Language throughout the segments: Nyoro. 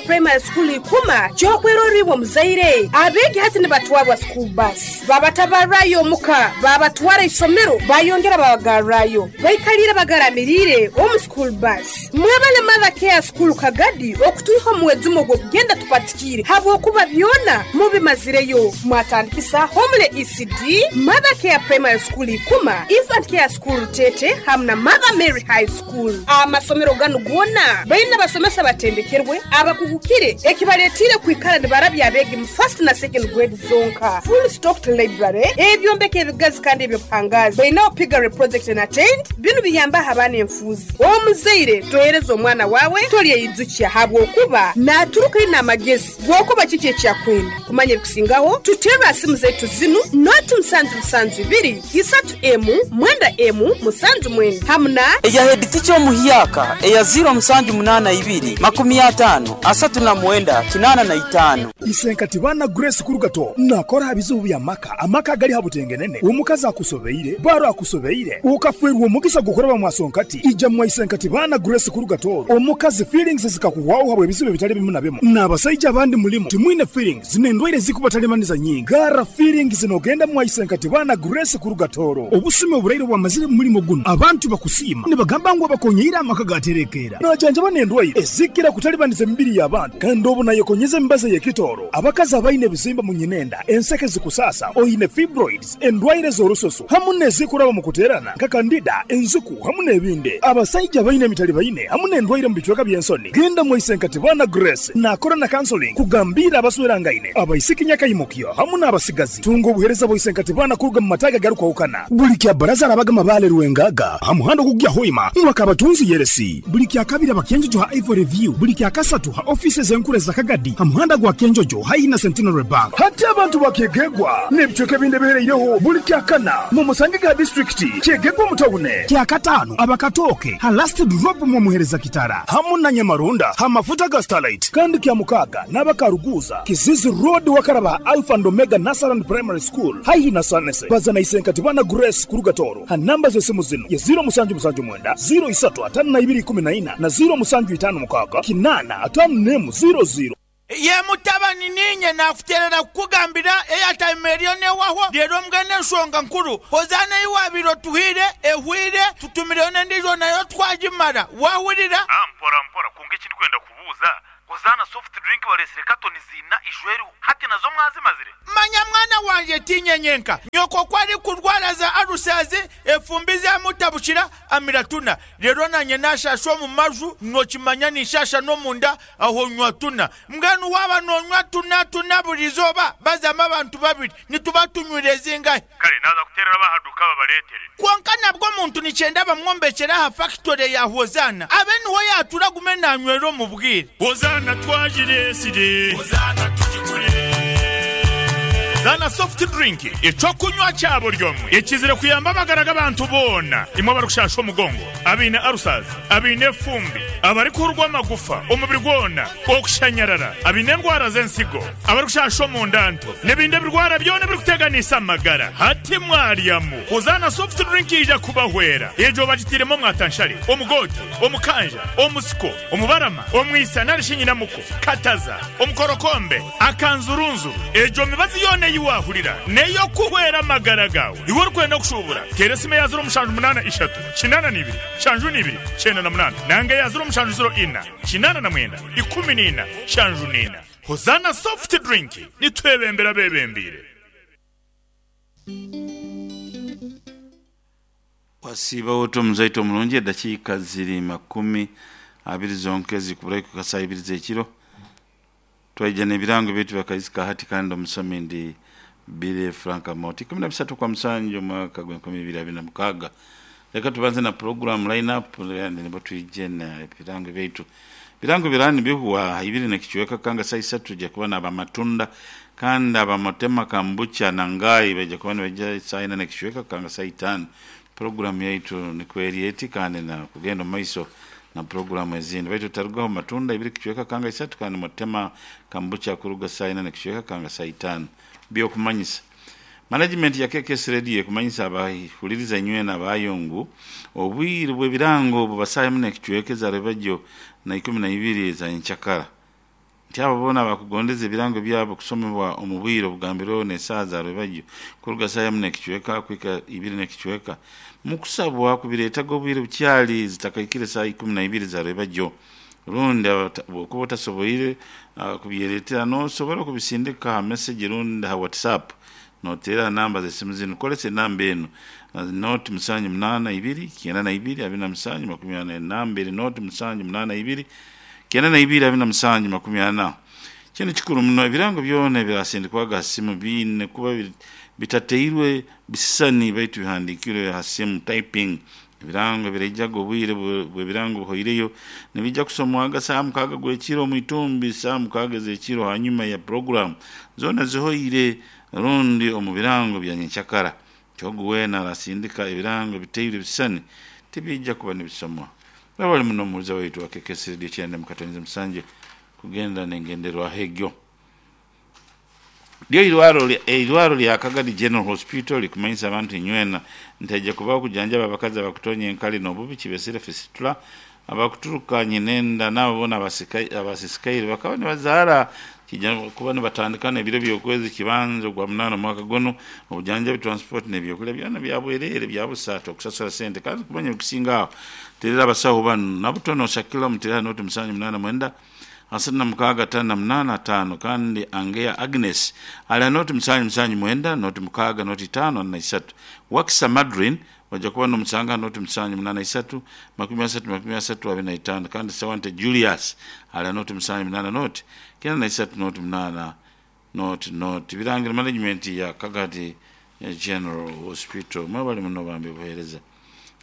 Primary School Ikuma ky'okwerorra iwe omuzaire. Abeegi hati nibatwarwa school bus, babatabarrayo omuka, babatwara isomero, bayongera babagarrayo. Baikaliire bagaramiriire omu school bus. Mwebale Mother Care School Kagadi okutwiha omu mwejumo gw'okugenda tupatikiire habwokuba byona mubimazireyo. Mwatandikisa Homely ECD, Mother Care Primary School Ikuma, Infant Care School Rutete hamu na Mother Mary High School. Amasomero ganu goona baine abasomesa abatendekerwe, abakugukire ekibaletiire kwikara nibarabya abeegi mu first na second grade zonka. Full stocked library, ebyombeko ebigazi kandi eby'obuhangaazi. Baineho piggery project na tent, binu biyambaho abaana enfuuzi. Omuzaire tohereza omwana waawe tolyeyijukya habwokuba naturuka aine amagezi g'okuba kiki eki akwenda. Kumanya ebikusingaho, tuterre aha simu zaitu zinu, noti musanju musanju ibiri, isatu emu, mwenda emu, musanju mwenda hamu na. Eya heeditica omuhyaka eya ziiro musanju munaana ibiri, makumi ataano, asatu na mwenda, kinaana na itaano. Isenkati baana Grace Kurugato nakora aha bizibu bya maka, amaka agali ha butengenene, omukazi akusobeire, baro akusobeire, okafwerwa omugisa gw'okuraba mwa Sonkati, ija mwa Isenkati baana Grace Kurugato, omukazi feelings zikakuhwaho habw'ebizibu ebitali bimu na bimu, n'abasaija abandi mulimu timwine feelings n'endwaire ezikubatalibaniza nyingi. Garra feelings nogenda mwa Isenkati baana Grace Kurugatoro. Obusumi oburaire obwamazire mu mulimo gunu, abantu bakusiima nibagamba ngu abakonyeire amaka gaterekeera. Najanjaba n'endwaire ezikira kutalibaniza emibiri y'abantu kandi obu nayekonyeza emibazi ey'ekitooro. Abakazi abaine ebizimba mu nyinenda, enseke zikusaasa, oine fibroids, endwaire z'orususu hamu n'ezikuraba mu kuteerana nka kandida, enziku hamu n'ebindi. Abasaija abaine emitalibaine hamu n'endwaire mu bicweka by'ensoni, genda mwa Isenkatibana Grace naakora na counseling kugambiira abaswerangaine, abaisiki nyakaimukyo hamu n'abasigazi. Tunga obuheereza bwa Isenkatibana kuruga mu mataagi agarukwahukana. Buli kya Bbaraza arabaga Mabaale Rwengaga ha muhanda ogukugya Hoima mwa Kabatunzi Yeresi. Buli kya Kabiri aba Kyenjojo ha Ivory View. Buli kya Kasatu ha ofiisi ez'enkuru eza Kagadi ha muhanda gwa Kyenjojo haihi na Centenary Bank. Hati abantu ba Kyegegwa n'ebicweka ebindi ebihereireho buli kya Kana mumusangege ha disiturikiti Kyegegwa omu tawune. Kya Kataano aba Katooke ha Last Drop mwomuhereza Kitara hamu na Nyamarunda ha mafuta ga Starlight. Kandi kya Mukaaga n'aba Karuguuza, Kizizi Road wakaraba ha Alpha and Omega Nursery and Primary School haihi na Sanese. Baza na Isenkatibana Grace kuruga Tooro ha namba z'esimu zinu ye ziiro musanju musanju mwenda, ziiro isatu ataano na ibiri ikumi na ina na ziiro musanju itaano mukaaga kinaana ataano n'emu ziiro ziiro. Ye mutabani, niinye naakuteerera kukugambira eyataima eriyo n'ewahwo. Reero mbwenu enshonga nkuru, Hozaana ei waabaire otuhaire ehweire, tutumireyo n'endiijo nayo twagimara. Waahurira? Mpora mpora, kwonka eki ndikwenda kubuuza, Hozaana soft drink bareetsire katoni ziina ijweriho, hati nazo mwazimazire? Manya mwana wangye, tiinye nyenka. Nyoko ku arikurwara za alusazi, efumbi zamutabukira, amira tuna. Reero naanye naashaasha omu maju, nookimanya ninshaasha n'omunda, aho nywa tuna. Mbwenu waaba noonywa tuna tuna buri izooba, bazamu abantu babiri, nituba tunywire zingahi? Kare naaza kuteerera ab'aha duuka babareetere. Kwonka nabwo omuntu nikyenda bamwombekyere aha fakitore ya Hozaana, abe niho yaatuura agume naanywera omu bwire. Hozaana twagireetsire. Hozaana tugigure. Zaana Soft Drink, eky'okunywa kya buri omwe ekizire kuyamba amagara g'abantu boona, imwe abarikushaasha omugongo, abaine ulcers, abaine efumbi, abarikuhurwa amagufa omubiri gwona, okushanyarara, abaine endwara z'ensigo, abarikushasha omunda nto, n'ebindi ebirwara byona ebirikuteganisa amagara. Hati mwaryamu Hozaana Soft Drink yaija kubahwera. Egyo bagitairemu omwatanshare, omugoote, omukanja, omusiko, omubarama, omwisa nari shi nyinamuko, kataza, omukorokombe, akanzurunzuru. Egyo mibazi yoona ei waahurira n'ey'okuhwera amagara gaawe. Iwe orikwenda kushuubura, teera esimu eya ziro mushanju munaana ishatu, kinaana na ibiri, nshanju na ibiri, kyenda na munaana nanga eya ziro mushanju ziro ina, 89 14 74. Hozaana Soft Drink, nitwebembera abebembeire. Wasiiba ota omuzaito omurungi? Edakiika ziri makumi abiri zonka ezikuburayo kuhika saaha ibiri z'ekiro. Twaija n'ebirango byaitu bya Kaizi ka hati kandi omusomi ndi Billy Frank Amooti. Ikumi na bisatu kwa musanju omwaka gw'enkumi ibiri abiri na mukaaga. Leka tubanze na pulogulaamu line up then nibwo twije n'ebirango byaitu. Ebirango biraba nibihwa ibiri n'ekicweka kanga saaha isatu twija kuba n'abamatunda kandi abamotema kambucha na ngai baija kuba nibaija saaha ina n'ekicweka kanga saaha itaano. Pulogulaamu yaitu nikwo eri eti kandi na kugenda omu maiso na pulogulaamu ezindi. Baitu otarugaho matunda ibiri kicweka kanga isatu kandi motema kambucha kuruga saaha ina n'ekicweka kanga saaha itaano. By'okumanyisa. Management ya KKS Radio ekumanyisa abahuliriza inywena abaayo ngu obwire bw'ebirango buba saaha emu n'ekicweka eza rwebagyo na ikumi na ibiri eza nyenkyakara. Nti abo boona abakugondeza ebirango byabo kusomebwa omu bwire obugambirweho n'esaaha za rwebagyo kuruga saaha emu n'ekicweka kuhika ibiri n'ekicweka mukusabwa kubireetaga obwire bukyali zitakaikire saaha 12 za rwebagyo. Rundi bwokuba otasoboire kubyereetera nosobora kubisindika ha message rundi ha WhatsApp noteera ha namba z'esimu zinu. Kolesa enamba enu 078 92 27 40. Enamba eri 078 92 27 40. Kinu kikuru muno, ebirango byona ebirasindikwaga ha simu biine kuba bitateirwe bisisani baitu bihandiikirwe ha simu, typing. Ebirango ebiraijaga obwire bw'ebirango buhoireyo nibiija kusomwaga saaha 6 gw'ekiro omu itumbi, saaha 6 ez'ekiro hanyuma ya puroguramu zoona zihoire rundi omu birango bya nyenkyakara. Ogu weena arasindika ebirango ebitairwe ebisisani tibiija kuba nibisomwa. Webale muno omuhuliza waitu wa KKS Radio 97.7 kugenda n'engenderwaho egyo. Lyo eirwaro lya Kagadi General Hospital likumanyisa abantu inywena nti haija kubaho okujanjaba abakazi abakutonya enkali n'obubi kibesire fistula, abakuturuka nyinenda n'abo boona abasisikaire bakaba nibazaara kija kuba nibatandika n'ebiro by'okwezi kibanza ogwa munaana omwaka gunu. Obujanjabi, transport n'ebyokulya byona bya bwereere bya busa tokusasura sente kandi kumanya ebikusinga aho terera abasaho banu Nabutono Shakila omuteera 078 36 58 5 kandi Angeya Agnes ali ha 079 06 05 43. Wakisa Madrine oja kuba n'omusanga ha 078 30 30 25 kandi Sewante Julius ali ha 078 0 93 08 0 0. Birangiro management ya Kagadi General Hospital mwebale muno bambi obuheereza.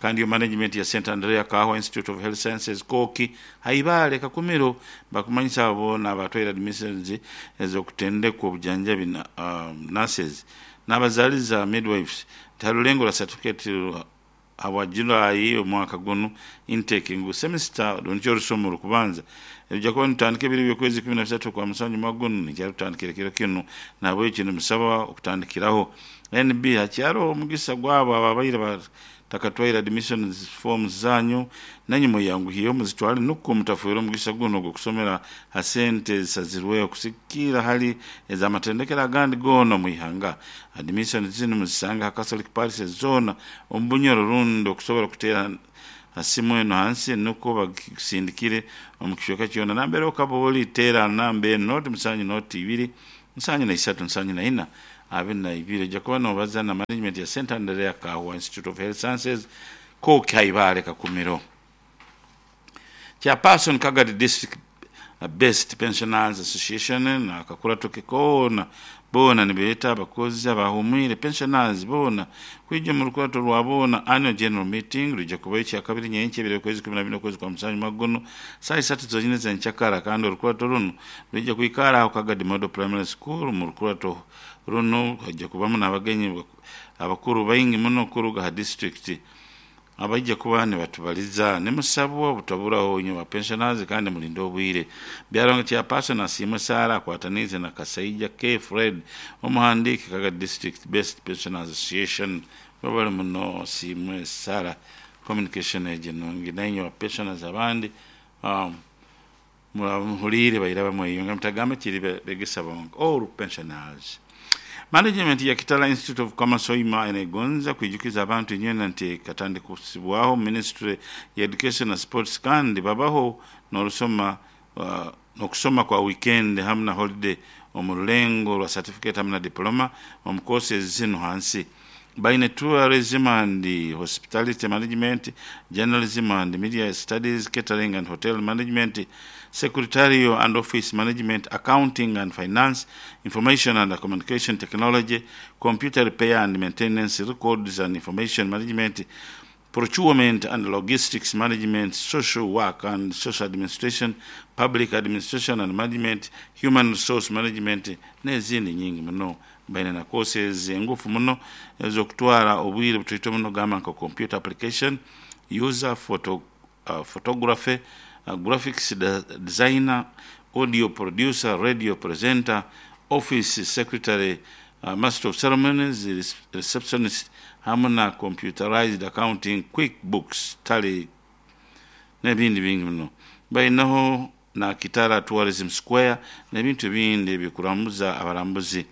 Kandi yo management ya St Andrea Kaahwa Institute of Health Sciences Kooki Haibale Kakumiro bakumanyisa abo boona abatwaire admissions ez'okutendekwa obujanjabi na nurses n'abazaliza, midwives, nti ha rulengo rwa certificate habwa July omwaka gunu intake ngu semester rundi orusomo orukubanza ruija kuba nirutandika ebiro by'okwezi 13 okwa musanju omwaka gunu niija rutandikira ekiro kinu nahabwekyo nimusaba okutandikiraho. NB, Hakyaroho omugisa gwabo ababaire batakatwaire admissions forms zanyu nainywe mweyanguhyeho muzitwale nukwo mutafwerwa omugisa gunu ogw'okusomera ha sente ezisazirweho kusigikirra hali ez'amatendekero agandi goona omu ihanga. Admissions zinu muzisanga ha Catholic Parishes zoona omu Bunyoro rundi okusobora kuteera ha simu enu hansi nukwo bagikusindikire omu kicweka kyona nambere okaba oli. Teera ha namba enu 0 7 0 2 7 3 74 22. Oija kuba nobaza na management ya St Andrea Kaahwa Institute of Health Sciences, Kooki Haibale Kakumiro. Chairperson Kagadi District Based Pensioners Association n'akakurato ke koona boona nibeeta abakozi abahumwire, pensioners, boona kwija omu rukurato rwa boona, Annual General Meeting, rwija kubayo Kyakabiri nyenkya ebiro by'okwezi 14 okwezi kwa musanju mwaka gunu saaha isatu zonyine ez'enkyakara kandi orukurato runu rwija kwikara aho Kagadi Model Primary School. Omu rukurato runu haija kubamu n'abagenyi abakuru baingi muno kuruga ha disiturikiti abaija kuba nibatubaliza. Nimusabwa obutaburaho inywe ba pensioners kandi mulinde obwire. Byaruhanga Chairperson Asiimwe Sarah akwataniize na Kasaija K Fred omuhandiiki Kagadi District Based Pensioners Association. Webale muno Asiimwe Sarah communication egyo enungi. Nainywe ba pensioners abandi muraba muhuliire baira bamweyunga mutagamba kiri begesa bonka. All pensioners. Management ya Kitara Institute of Commerce Hoima enegonza kwijukiza abantu inywena nti ekatandikisibwaho Ministry ya Education na Sports kandi babaho n'orusoma n'okusoma kwa weekend hamu na holiday omu rulengo rwa certificate hamu na diploma omu courses zinu hansi. Baine Tourism and Hospitality Management, Journalism and Media Studies, Catering and Hotel Management, Secretarial and Office Management, Accounting and Finance, Information and Communication Technology, Computer Repair and Maintenance, Records and Information Management, Procurement and Logistics Management, Social Work and Social Administration, Public Administration and Management, Human Resource Management n'ezindi nyingi muno. Baine na courses engufu muno ez'okutwara obwire butaito muno gamba nka Computer Application, User, Photo, Photography, Graphics Designer, Audio Producer, Radio Presenter, Office Secretary, Master of Ceremonies, Receptionist hamu na Computerized Accounting, Quick Books, Tally n'ebindi bingi muno. Bainaho na Kitara Tourism Square n'ebintu ebindi ebikurambuza abarambuzi.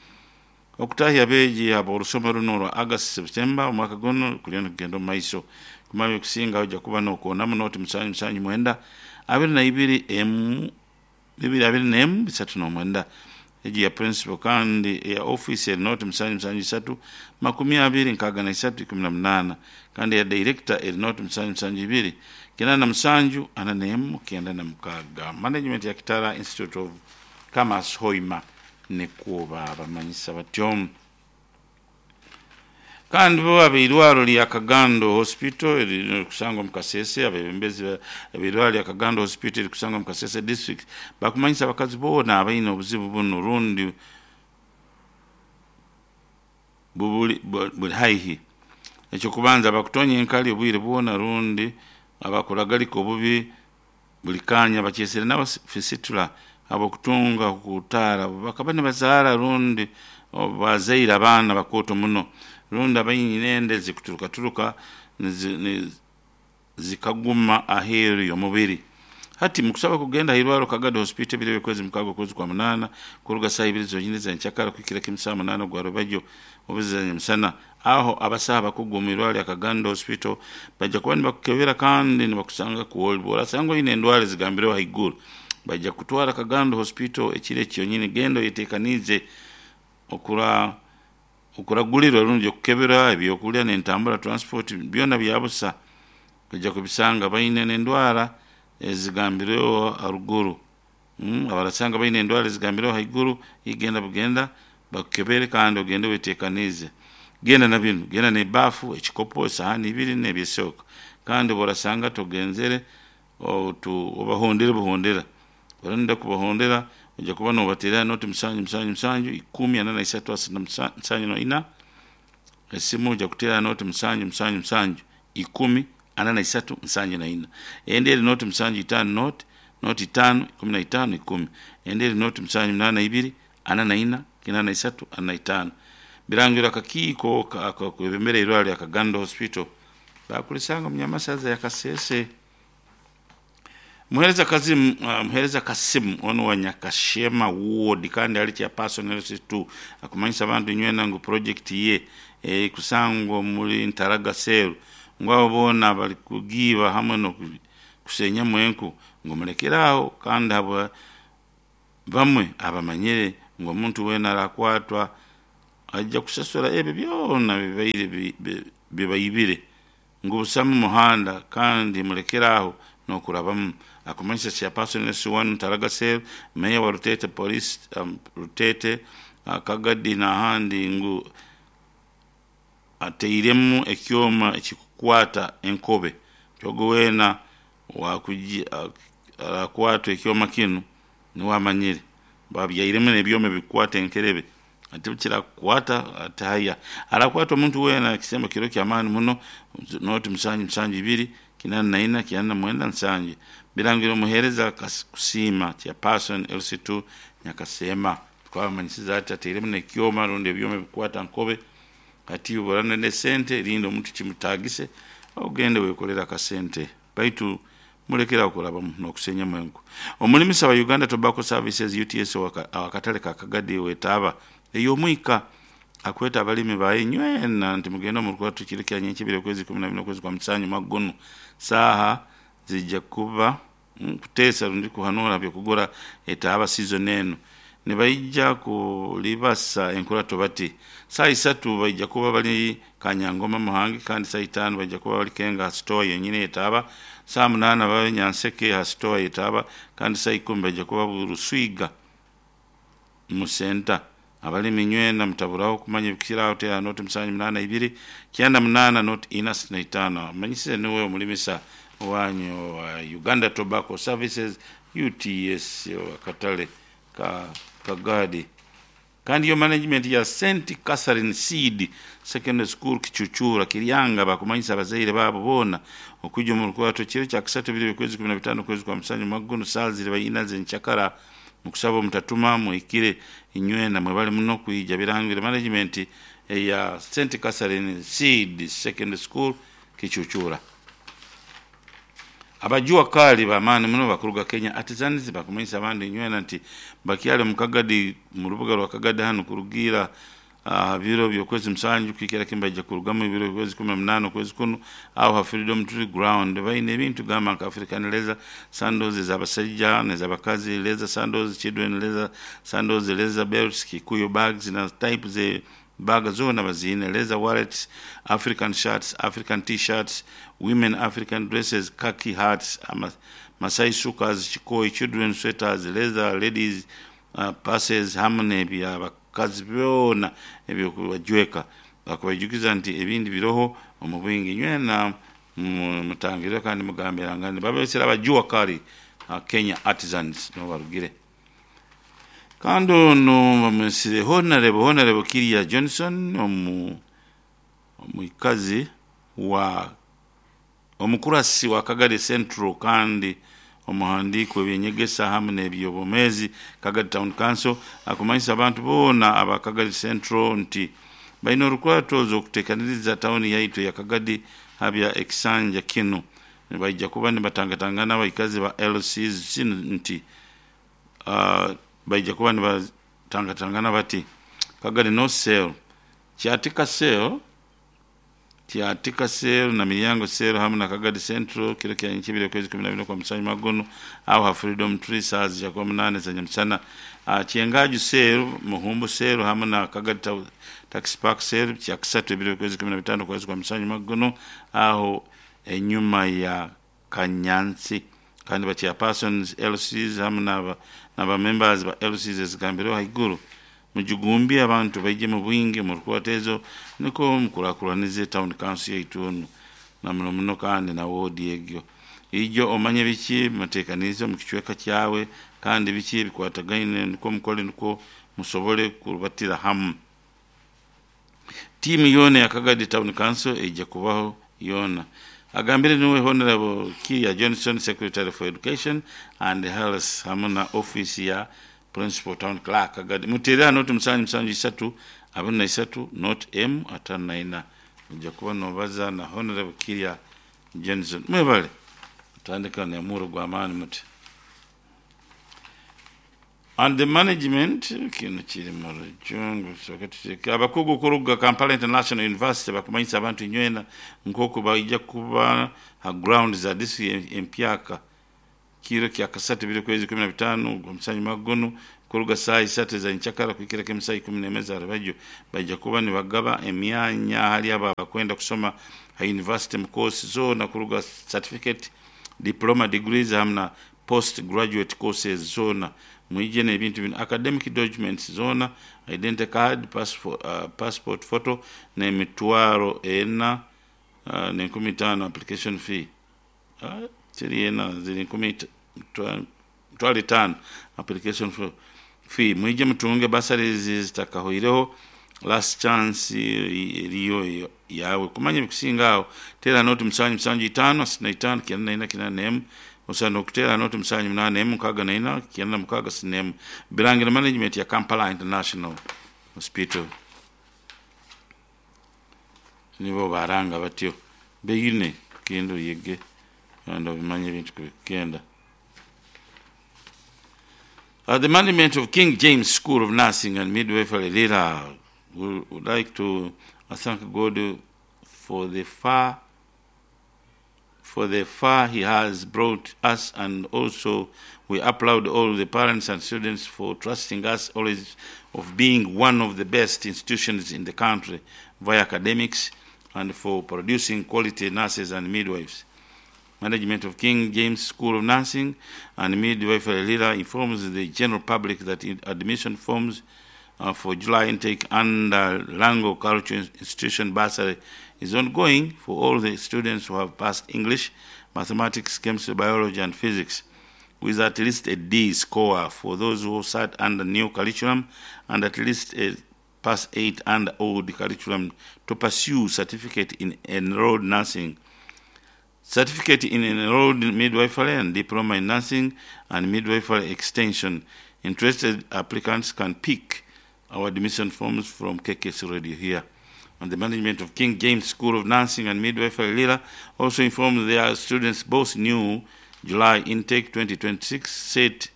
Okutahya abeegi ab'orusoma runo orwa August September omwaka guno kuliyo nikugenda omu maiso. Kumanya ebikusinga oija kuba nokoonamu noti musanju musanju mwenda abiri na ibiri emu bibiri abiri n'emu bisatu n'omwenda. Egi ya principal kandi eya office eri noti musanju musanju isatu makumi abiri nkaaga na isatu ikumi na munaana kandi eya director eri noti musanju musanju ibiri kinaana na musanju ana n'emu kenda na mukaaga. Management ya Kitara Institute of Commerce Hoima nikwo babamanyisa batyo. Kandi bo ab'eirwaro lya Kagando Hospital eririkusangwa omu Kasese, abebembezi b'eirwaro lya Kagando Hospital erikusangwa omu Kasese District bakumanyisa abakazi boona abaine obuzibu bunu rundi bubuli buli haihi. Ekyokubanza abakutonya enkali obwire bwona rundi abakuragalika obubi buli kanya bakyesere nabo fistula habw'okutunga okutaara bakaba nibazaara rundi bazaire abaana bakooto muno rundi abaine enda ezikuturukaturuka zikaguma aheeru y'omubiri. Hati mukusaba kugenda hairwaro Kagado Hospital ebiro eby'okwezi mukaaga okwezi kwa munaana kuruga saaha ibiri zonyini ez'enkyakara kuhikira kimu saaha munaana ogwa rubajyo obuziza nyamusana. Aho abasaho abakugu omu irwaro lya Kagando Hospital baija kuba nibakukebera kandi nibakusanga kwoli bw'orasanga oine endwara ezigambireho haiguru baija kukutwara Kagando Hospital ekiro eki kyonyini genda oyeteekaniize okuragulirwa rundi okukebera ebyokulya n'entambura transport byona byabusa oija kubisanga baine n'endwara ezigambireho haruguru. Abarasanga baine endwara ezigambireho haiguru genda bugenda bakukebere kandi ogende weteekaniize. Genda na binu, genda n'ebaafu, ekikopo, esahaani ibiri n'ebyesooka kandi obu orasanga togenzere obahondere buhondera. Orenda kubahondera oija kuba nobateerera noti musanju musanju musanju ikumi ana na isatu asatu na nsanju na ina esimu oija kuteera noti musanju musanju musanju ikumi ana na isatu nsanju na ina. Endi eri noti musanju itaano noti noti itaano ikumi na itaano ikumi. Endi eri noti musanju munaana ibiri ana na ina kinaana na isatu ana na itaano. Birangirwa akakiiko akakwebembera eirwaro lya Kagando Hospital bakulisanga omu Nyamasaza ya Kasese. Muheereza Kazimu, Muheereza Kasimu onu wa Nyakashema Ward kandi ali chairperson LC2 akumanyisa abantu nywena ngu project ye ekusangwa omuri Ntaraga Cell ngu abo boona bari kugiiba hamwe n'okusenyamu enku ngu mulekere aho kandi habwa bamwe abamanyire ngu omuntu weena arakwatwa aija kusasura ebyo byona bibaire bibaibire ngu busamu muhanda kandi mulekere aho n'okurabamu. Akumanyisa chairperson LC1 Ntaraga Cell, meeya wa Rutete Police Rutete Kagadi n'ahandi ngu atairemu ekyoma ekikukwata enkobe ogwo weena arakwatwa ekyoma kinu niwe amanyire. Babyairemu n'ebyoma ebikukwata enkerebe ati bukirakukwata ati haya. Arakwata omuntu weena ekisembo kiro ky'amaani muno noti musanju musanju ibiri kinaana na ina kinaana na mwenda nsanju. Birangirwa omuheereza Kusiima chairperson LC2 Nyakasema. Twabamanyisiza ati atairemu n'ekyoma rundi ebyoma ebikukwata nkobe hati obu oraba n'esente rinda omuntu kimutaagise ogende weekolere akasente baitu mulekere aho kurabamu n'okusenyamu enku. Omulimisa wa Uganda Tobacco Services UTS ow'akatale ka Kagadi wetaaba ey'omwika akweta abalimi baye nywena nti mugende omu rukurato kiro kya nyenkya okwezi ikumi na bina okwezi kwa musanju omwaka gunu saaha ziija kuba kuteesa rundi kuhanuura by'okugura etaaba season enu. Nibaija kulibasa enkurato bati saaha isatu baija kuba bali Kanyangoma Muhangi kandi saaha itaano baija kuba bali Kenga ha store yenyini ey'etaaba, saaha munaana babe Nyanseke ha store y'etaaba kandi saaha ikumi baija kuba Buruswiga mu center. Abalimi nywena mutaburaho kumanya ebikukiraho teera noti musanju munaana ibiri kyenda munaana noti ina asatu na itaano. Amanyisize niwe omulimisa wanyu wa Uganda Tobacco Services UTS akatale ka Kagadi. Kandi yo management ya St Catherine Seed Secondary School Kichuchura Kiryanga bakumanyisa abazaire baabo boona okwija omu rukurato kiro kya kasatu ebiro by'okwezi ikumi na bitaano okwezi kwa musanju omwaka gunu saaha ziriba ina z'enkyakara mukusaba omutatuma muhikire inywena mwebale muno kwija birangire management eya St Catherine Seed Secondary School Kichuchura. Abajua kali b'amaani muno bakuruga Kenya Artisans bakumanyisa abandi inywena nti bakyali omu Kagadi mu rubuga rwa Kagadi hanu kurugiira aha biro by'okwezi musanju kuhikira kimu baija kurugamu ebiro by'okwezi 18 okwezi kunu aho ha Freedom Tree Ground. Baine ebintu gamba nka African leather sandals ez'abasaija n'ez'abakazi, leather sandals, children leather sandals, leather belts, Kikuyu bags na type ze bag zoona baziine, leather wallets, African shirts, African t-shirts, women African dresses, khaki hats, Masai shukas, chikoi, children sweaters, leather ladies purses hamu n'eby'abakazi byona eby'okubajweka. Bakubaijukiza nti ebindi biroho omu bwingi. Inywena mutangirre kandi mugambirangane. Babesere abajua kali Kenya Artisans nibo barugire. Kandi onu bamwesire Honorable Honorable Kiria Johnson omu omwikazi wa omukurasi wa Kagadi Central kandi omuhandiiki w'ebyenyegesa hamu n'ebyobwomeezi Kagadi Town Council akumanyisa abantu boona aba Kagadi Central nti baine orukurato okuteekaniriza tawuni yaitu eya Kagadi habya ekisanja kinu. Nibaija kuba nibatangatangana abaikazi ba LCs zinu nti baija kuba nibatangatangana bati Kagadi North Cell, Kyatika Cell, Kyatika Cell na Miryango Cell hamu na Kagadi Central kiro kya nkyebiri okwezi 12 okwa musanyuma gunu aho ha Freedom Tree saaha zija kuba 8 za nyamusana. Kyengaju Cell, Muhumbu Cell hamu na Kagadi Taxi Park Cell kyakisatu ebiro okwezi 15 okwezi kwa musanyuma gunu aho enyuma ya Kanyansi. Kandi ba chairpersons LCs hamu n'aba members ba LCs ezigambireho haiguru mujugumbye abantu baije mu bwingi omu rukurata ezo niko mukurakuranize town council yaitu onu na muno muno kandi na woodi egyo. Ijo omanye biki muteekaniize omu kicweka kyawe kandi biki ebikwatagaine nukwo mukole nukwo musobole kurubatira hamu. Tiimu yoona eya Kagadi Town Council eija kubaho yoona. Agambire niwe Honorable Kiria Johnson, Secretary for Education and Health hamu na office ya Principal Town Clerk Kagadi. Muteere ha noti musanju musanju isatu abiri na isatu not M atano na ina. Oija kuba nobaza na Honorable Kiria Johnson. Mwebale kutandika n'omuro gw'amaani muti. And the management kinu kiri mu rujungu tusooke tuteeke abakugu kuruga Kampala International University bakumanyisa abantu inywena nk'oku baija kuba ha ground za district empyaka kiro kya kasatu ebiro kwezi 15 ogw'omusanyuma gunu kuruga saaha isatu eza nkyakara kuhikira kimu saaha 11 za rubajyo. Baija kuba nibagaba emyanya hali abo abakwenda kusoma ha university mu course zoona kuruga certificate, diploma, degrees hamu na post graduate courses zoona. Mwije n'ebintu binu: academic documents zoona, identity card, passport photo n'emitwaro ena n'enkumi itaano application fee. Teri ena, ziri nkumi mitwaro etaano application fee. Mwije mutunge bursaries zitakahoireho, last chance eriyo yawe. Kumanya ebikusinga aho teera noti musanju musanju itaano asatu na itaano kyenda na ina kyenda n'emu, osobola n'okuteera noti musanju munaana emu nkaaga na ina kyenda na mukaaga asatu n'emu. Birangira management ya Kampala International Hospital nibo baranga batyo. Beine genda oyege kandi obimanye ebintu kubikugenda. The management of King James School of Nursing and Midwifery Lira would like to thank God for the far He has brought us, and also we applaud all the parents and students for trusting us always of being one of the best institutions in the country via academics and for producing quality nurses and midwives. Management of King James School of Nursing and Midwifery Lira informs the general public that admission forms for July intake under Lango Cultural Institution bursary is ongoing for all the students who have passed English, mathematics, chemistry, biology, and physics with at least a D score for those who sat under new curriculum and at least a pass 8 under old curriculum to pursue certificate in enrolled nursing, certificate in enrolled midwifery and diploma in nursing and midwifery extension. Interested applicants can pick our admission forms from KKC Radio here. And the management of King James School of Nursing and Midwifery Lira also informed their students both new July intake 2026 set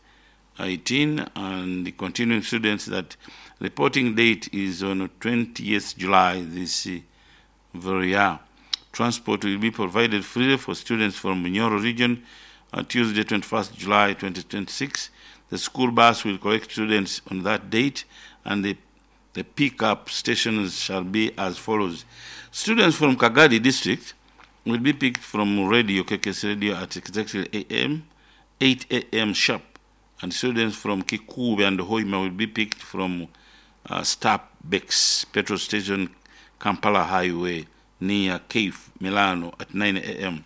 18 and the continuing students that reporting date is on 20th July this very year. Transport will be provided freely for students from Bunyoro region on Tuesday 21st July 2026. The school bus will collect students on that date and the pickup stations shall be as follows. Students from Kagadi district will be picked from Radio KKS Radio at exactly AM 8 a.m. sharp, and students from Kikube and Hoima will be picked from Starbucks petrol station, Kampala Highway near Cave Milano at 9 a.m.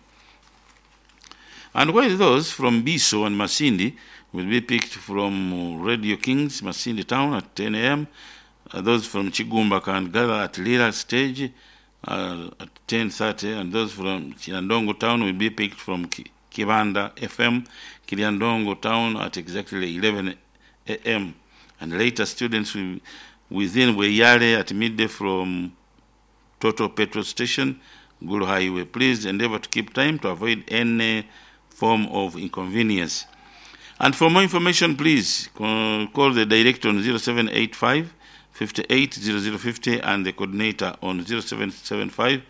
And while those from Biso and Masindi will be picked from Radio Kings, Masindi Town at 10 a.m. Those from Chigumba can gather at Lira stage at 10:30, and those from Kiryandongo Town will be picked from Kibanda FM, Kiryandongo Town at exactly 11 a.m. And later students will within Weyale at midday from Total Petrol Station, Gulu Highway. Please endeavor to keep time to avoid any form of inconvenience. And for more information, please call the director on 0785 580050 and the coordinator on 0775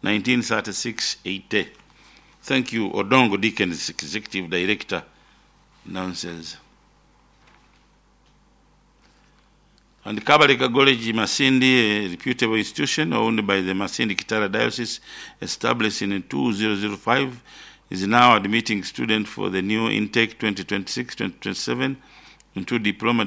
1936 80. Thank you, Odongo Dickens, Executive Director. Nonsense. And Kabalika College Masindi, a reputable institution owned by the Masindi Kitara Diocese, established in 2005, is now admitting students for the new intake 2026-2027 into diploma,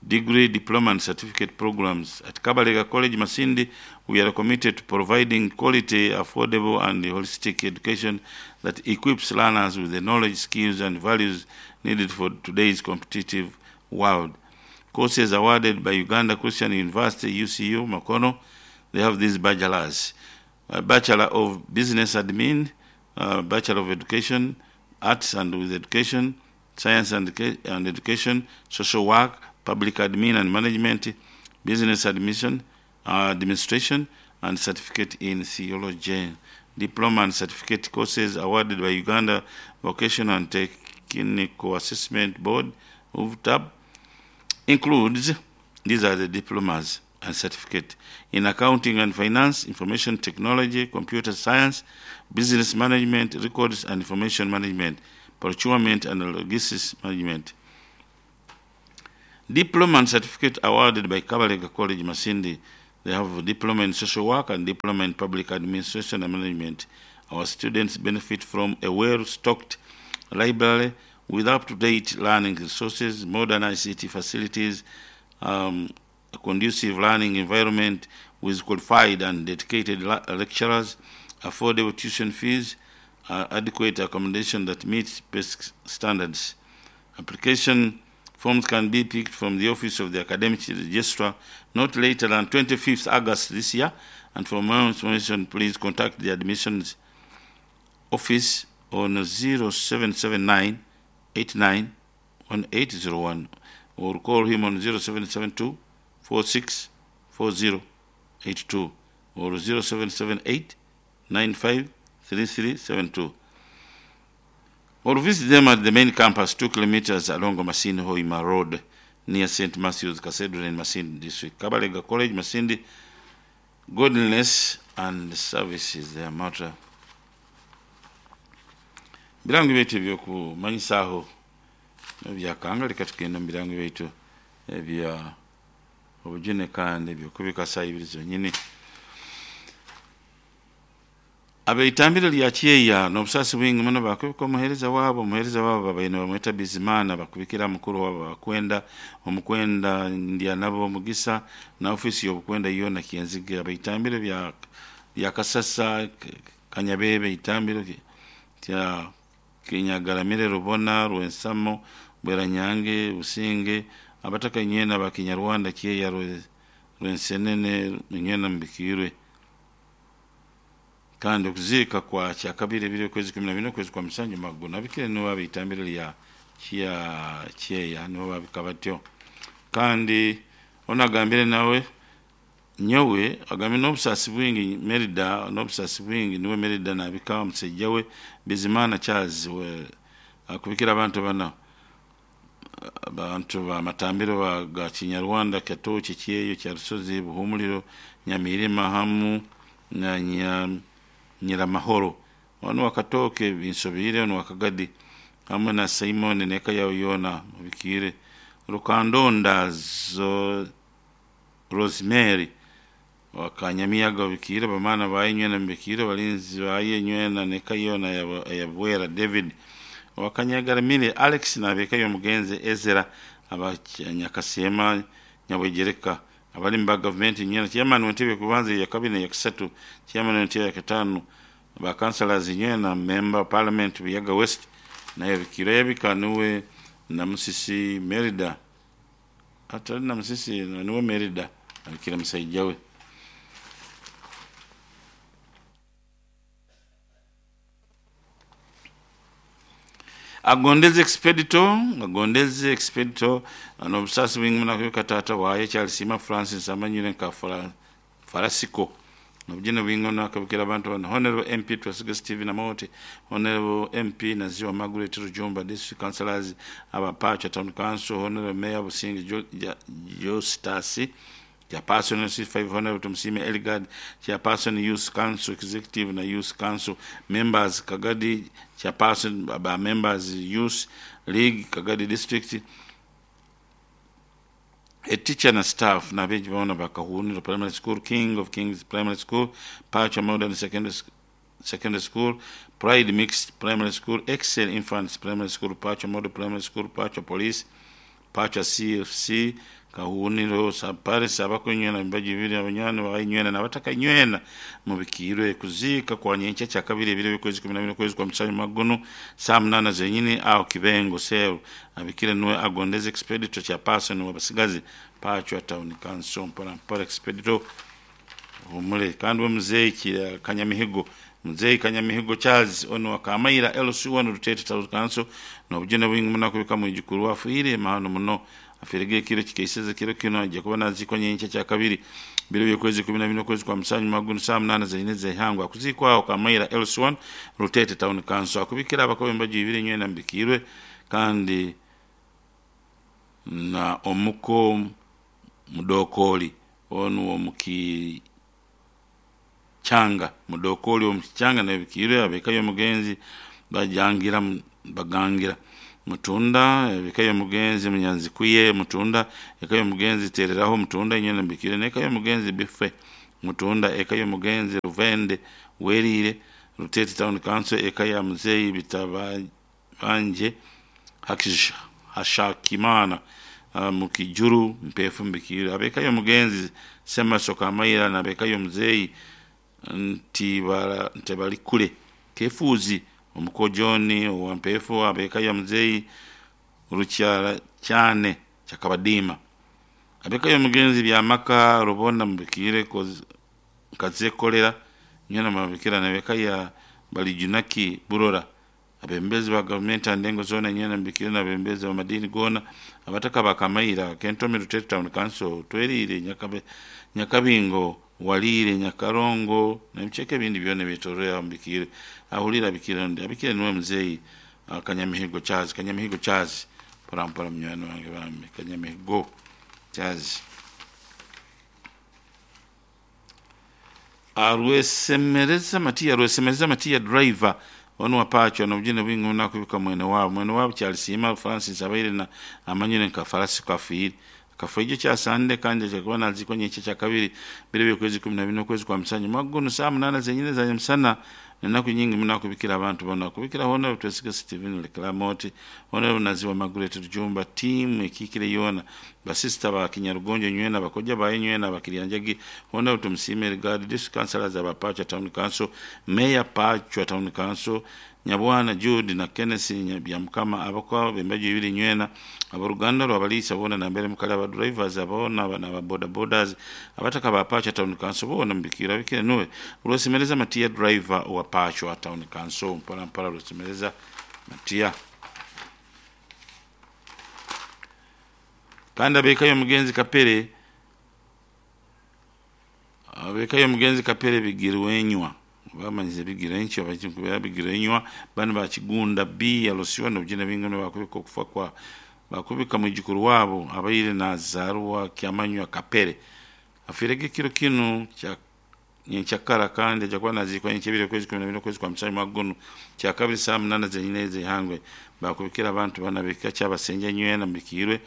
degree, diploma and certificate programs. At Kabalega College Masindi, we are committed to providing quality, affordable and holistic education that equips learners with the knowledge, skills and values needed for today's competitive world. Courses awarded by Uganda Christian University, UCU, Makono, they have these bachelors. Bachelor of Business Admin, Bachelor of Education, Arts and with Education, Science and Education, Social Work, Public Admin and Management, Business Admission, Administration, and Certificate in Theology. Diploma and Certificate courses awarded by Uganda Vocational and Technical Assessment Board, UVTAB, includes, these are the diplomas and certificate, in accounting and finance, information technology, computer science, business management, records and information management, procurement and logistics management. Diploma and certificate awarded by Kabalega College Masindi. They have a diploma in social work and diploma in public administration and management. Our students benefit from a well-stocked library with up-to-date learning resources, modern ICT facilities, a conducive learning environment with qualified and dedicated lecturers, affordable tuition fees, adequate accommodation that meets best standards. Application forms can be picked from the office of the academic registrar not later than 25th August this year. And for more information, please contact the admissions office on 0779 89 1801 or call him on 0772 46 4082 or 0778 95 3372. Or visit them at the main campus, 2 kilometers along Masindi Hoima Road, near St. Matthew's Cathedral in Masindi District. Kabalega College, Masindi, godliness and service is their motto. Birango byaitu ebyokumanyisaaho byakanga leka tugenda mu birango byaitu ebya obujune kandi ebyokubika saa ibiri zonyini. Abeitambiro lya Kyeya n'obusaasi bwingi muno bakubika omuheereza waabo babaine bamweta Bizimana bakubikira mukuru waabo bakwenda omukwenda ndya nabo omugisa na ofiisi y'obukwenda yoona Kyenzige. Abeitambiro bya Kasasa Kanyabebe itambiro kya Kinyagaramire Rubona Rwensamo Bweranyange Businge abataka nywena ba Kinyarwanda Kyeya Rwensenene nywena mbikirwe. Kandi okuziika kwa kyakabiri ebiri okwezi 14 okwezi kwa musanju maguna abikire nibo abeitambiro lya Kyeya nibo babika batyo. Kandi onagambire nawe Nyowe agambye n'obusaasi bwingi Merida, n'obusaasi bwingi niwe Merida nabika omusaija we Bizimana Charles we akubikira abantu bana abantu bamatambiro ga Kinyarwanda, Katoki, Kyeyo, Kyarusozi, Buhumuliro, Nyamirima hamu na Nyiramahoro. Onu wakatoke binsobire, onu wakagadi hamwe na Simon neka yawe yona mubikire Rukandonda zo Rosemary wakanyamiyaga bikire bamana bayenywena mbikire balinzi bayenywena neka yona yabwera David wakanyagaramire Alex nabeka yomugenzi Ezra abanyakasema Nyabwegereka abali mu gavumenti nywena chairman w'entebe kubanza ya kabine ya kisatu, chairman w'entebe ya katano ba councillors nywena member of parliament Buyaga West naye bikire yabika niwe na Musisi Merida atali na Musisi niwe Merida abikira musaija we. Agondeze Expedito n'obusasi bwingi munakubika tata waye Charles Sima Francis amanyire nka Farasiko nobujene bwingi nakabikira abantu bano Honorable MP Twesiga Steven Amote, Honorable MP Naziwa Margaret Rujumba, District Councillors Abapacha Town Council, Honorable Mayor Businge Justus Chairperson C5 Honorable Tumsime Eligard, Chairperson Youth Council Executive na Youth Council Members Kagadi, Chairperson ba Members Youth League Kagadi District, a teacher na staff na beji baona bakahuniro Primary School, King of Kings Primary School, Pacha Modern Secondary School, Pride Mixed Primary School, Excel Infants Primary School, Pacha Model Primary School, Pacha Police, Pacha CFC, Kahuniro Paris abakunywena imbaji bibiri abanywana bainywena nabataka nywena mubikirwe kuzika kwa nyencha cha kabiri bibiri kwezi 12 kwezi kwa msanyu magono saa 8 zenyini au kibengo sel abikire nuwe agondeze Expedito cha person wabasigazi Pacha Town Council mpora mpora Expedito humule kandi mzee Kanyamihigo mzee Kanyamihigo Charles ono wakamaira LC1 Rutete Town Council nobujene bwingi munakubika mwijukuru wafuire mahano muno afirege kiro kikeiseze kiro kino ajja kuba naziko nyencha cha kabiri biro byo kwezi 12 kwezi kwa msanyu magunu saa 8 zenyine zehangwa kuzikwa kamaira LC1 Rutete Town Council akubikira abakobe mbaji ibiri nywena mbikirwe kandi na omuko mudokoli onu omuki changa mudokoli omukichanga na bikirwe abekayo mugenzi bajangira bagangira mutunda ebikayo mugenzi munyanzi kuye mutunda ekayo mugenzi tereraho mutunda nyene mbikire nekayo mugenzi bife mutunda ekayo mugenzi ruvende werire Rutete Town Council ekaya mzeyi bitabanje hakisha hashakimana mukijuru mpefu mbikire abekayo mugenzi sema sokamayira na bekayo mzeyi ntibara ntebalikule kefuzi omukojoni wampefu abekayo mzeyi rukyara cyane cyakabadima abekayo mugenzi byamaka rubona mubikire kazekolera nyana mabikira nabekaya balijunaki burora abembezi ba government andengo zona nyana mbikire na bembezi ba madini gona abataka bakamaira Kentomi Rutete Town Council twerire Nyakabingo walire Nyakarongo na mcheke bindi byone bitorea mbikire ahulira bikire ndi abikire niwe mzeyi Kanyamihigo Charles Kanyamihigo Charles porampora mnywano wange bambe Kanyamihigo Charles Arwesemereza Matia driver onu wapacho na mjini wingi nakubika mwene wabo Charles Sima Francis abaire na amanyire nka farasi kafiri kafuijo cha sande kanje chakuwa naziko nyeche cha kabiri bire kwezi 12 kwezi kwa msanyu magono saa 8 zenyine za msana naku nyingi mnakubikira abantu bona kubikira hona Twesiga Steven Leklamoti hona naziwa Margaret Rujumba team ikikire yona basista ba Kinyarugonjo nywena bakoja baye nywena bakirianjagi hona tumsime regard district councillors abapacha Town Council Mayor Pacha Town Council Nyabwana Jude na Kenneth Nyabyamkama abakwa bembaji ibiri nywena abaruganda rwabalisa bona na mbere mukala aba drivers abona bana ba boda bodas abataka ba Pacha Town Council bona mbikira bikire nuwe Rosimereza Matia driver wa Pacha Town Council mpora mpora Rosimereza Matia kanda bekayo mugenzi kapere Abekayo omugenzi Kapere Bigirwenywa bamanyize Bigirwenkyo bakikubera Bigirwenywa bani bakigunda B alosiwa nobujina bingi bakubika okufa kwa bakubika mwijukuru wabo abaire nazarwa Kyamanywa Kapere afirege kiro kinu kya nyenkyakara kandi aja kuba nazikwa nyenkyebiri okwezi 12 okwezi kwa musanju mwaka guno kyakabiri saa 8 zenyine z'ihangwe. Bakubikira abantu bana beka kyabasenja nywena mbikirwe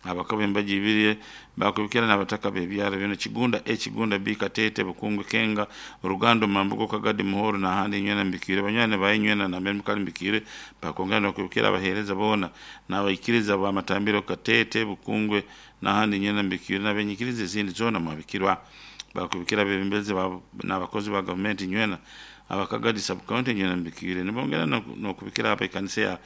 abakaba embaji ibiri bakubikira n'abataka b'ebyaro bino Kigunda A, Kigunda B, Katete, Bukungwe, Kenga, Rugando, Mambugo, Kagadi, Muhoro n'ahandi nywena mbikirwe banywani baye nywena na mbere mukali mbikirwe. Bakongera n'okubikira abaheereza boona n'abaikiriza b'amatambiro Katete, Bukungwe n'ahandi nywena mbikirwe n'abenyikiriza ezindi zoona mwabikirwa. Bakubikira abebembezi n'abakozi ba gavumenti nywena abakagadi sub county nywena mbikirwe. Nibongera n'okubikira abekanisa ya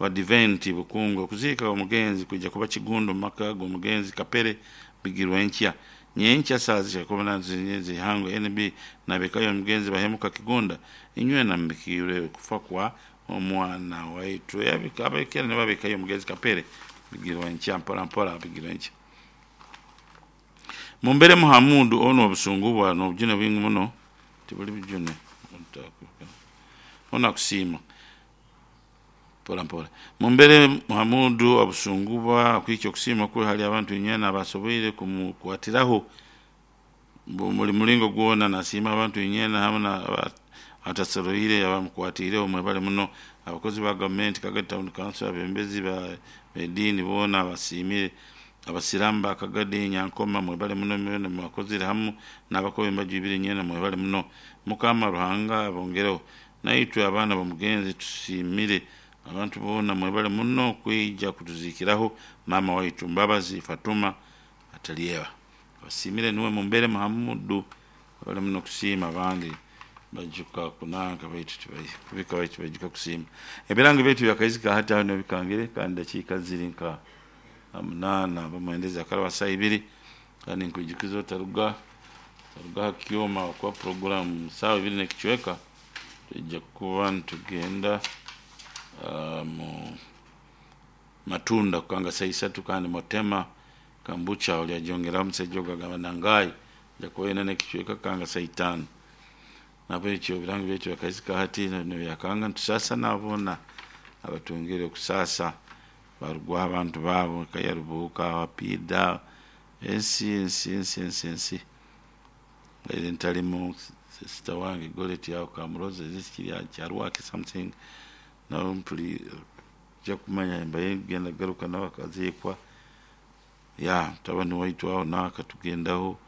Badiventi Bukungwe. Okuziika omugenzi kwijja kuba Kigundo mu maka g'omugenzi Kapere Bigirwenkya nyenkya saa zikumi z'ihangwe. NB nabekayo omugenzi Bahemuka Kigunda inywena mbikirwe okufa kwa omwana waitu. Abekera nibabekayo omugenzi Kapere Bigirwenkya mpora mpora Bigirwenkya. Mumbere Muhamudu ono obusungu bwa n'obujune bwingi muno tibuli bujune ono akusiima mpora mpora. Mumbere Muhamudu obusungubwa akwikya okusiima kwe hali abantu inywena abasoboire kumukwatiraho buli mulingo gwona. Nasiima abantu inywena hamu na atasoroire abamukwatireho mwebale muno. Abakozi ba gavumenti Kagadi Town Council, abembezi b'ediini boona abasiimire, abasiramu ba Kagadi Nyankoma mwebale muno mwena mwakozire hamu n'abakobi embaju ibiri nywena mwebale muno. Mukama Ruhanga abongereho. Naitwe abaana b'omugenzi tusiimire abantu boona mwebale muno kwija kutuzikiraho mama waitu Mbabazi Fatuma Atalieba. Abasiimire niwe Mumbere Muhamudu bali muno kusiima abandi bajuka kunanka baitu tibabika baitu bajuka kusiima. Ebirango byaitu byakaizika hati aho nibikangire kandi dakiika ziri nka 8 bamwendeza akaraba saa 2 kandi nkwijukiza otaruga ha kyoma kwa programu saa 2 n'ekicweka tujja kuba nitugenda mu matunda kukanga saa 3 kandi motema kambucha olyajongeraho omusajja ogu agamba nangai jakuba n'ekicweka kanga saa 5. Nabwekyo ebirango byaitu byakaizika hati nibyakanga nitusaasa nabona abatungire okusasa barugwaho abantu baabo kayarubuuka apiida ensi ensi ensi ensi ensi baire ntalimu sister wange Goret aho Kamuroza kiri kyarwaki something nawe mpuli ja kumanya mbaye genda garuka nawe akaziikwa ya mutabani waitu aho nawe akatugendaho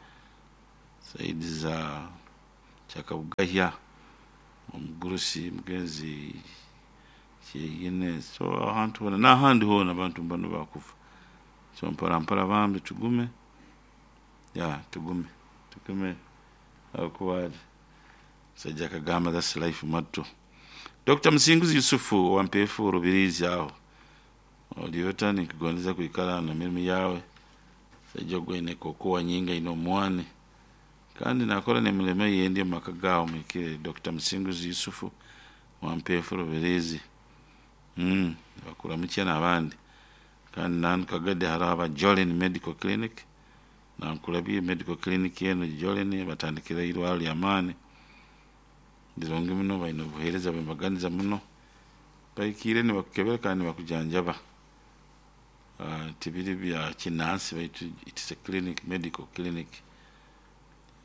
saidi za Kyakabugahya omugurusi mugenzi kyeyine so ahantu hona n'ahandi hoona abantu mbano bakufa so mpora mpora bambi tugume ya tugume tugume akuba sajja akagamba that's life motto. Dr. Musinguzi Yusufu wa Mpefu Rubirizi aho oliota nikugondeza kwikara na mirimu yawe sajja ogwine kokowa nyinga ino omwani kandi nakora n'emirimo yendi omu maka gaawe mwikire. Dr. Musinguzi Yusufu wa Mpefu Rubirizi bakuramukye n'abandi kandi nanu Kagadi hariho aba Jolene Medical Clinic nankulabye medical clinic eno Jolene batandikire irwaro ly'amaani lirungi muno baine obuheereza bw'embaganiza muno bahikiire nibakukebera kandi nibakujanjaba. Tibiri bya kinansi baitu it's a clinic, medical clinic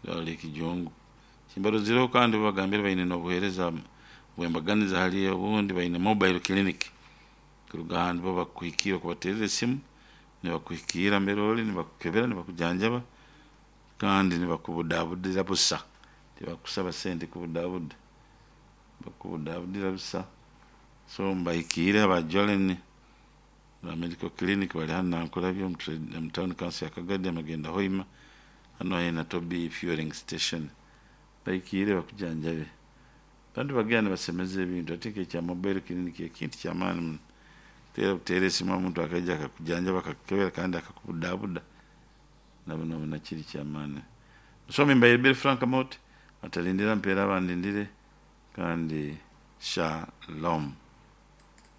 irwaro ly'ekijungu kimbarozireho kandi babagambire baine n'obuheereza bw'embaganiza hali obundi baine mobile clinic kuruga ahantu bo bakuhikiira okubateerera esimu nibakuhikiira mbere ori nibakukebera nibakujanjaba kandi nibakubudabudira busa tibakusaba sente kubudabuda bakubudabudira busa. So mbahikiire aba Jolene ba medical clinic bali hanu Nankulabye omu town council ya Kagadi amagenda Hoima hanu haihi na Tobi fueling station bahikiire bakujanjabe. Abantu bagenda nibasemeza ebintu ate nk'ekya mobile clinic ekintu ky'amaani muno teera buteera esimu omuntu akaija akakujanjaba akakukebera kandi akakubudabuda nabona kiri ky'amaani. Musomi Mbaire Frank Mot atalindira mpeera abandindire kandi shalom.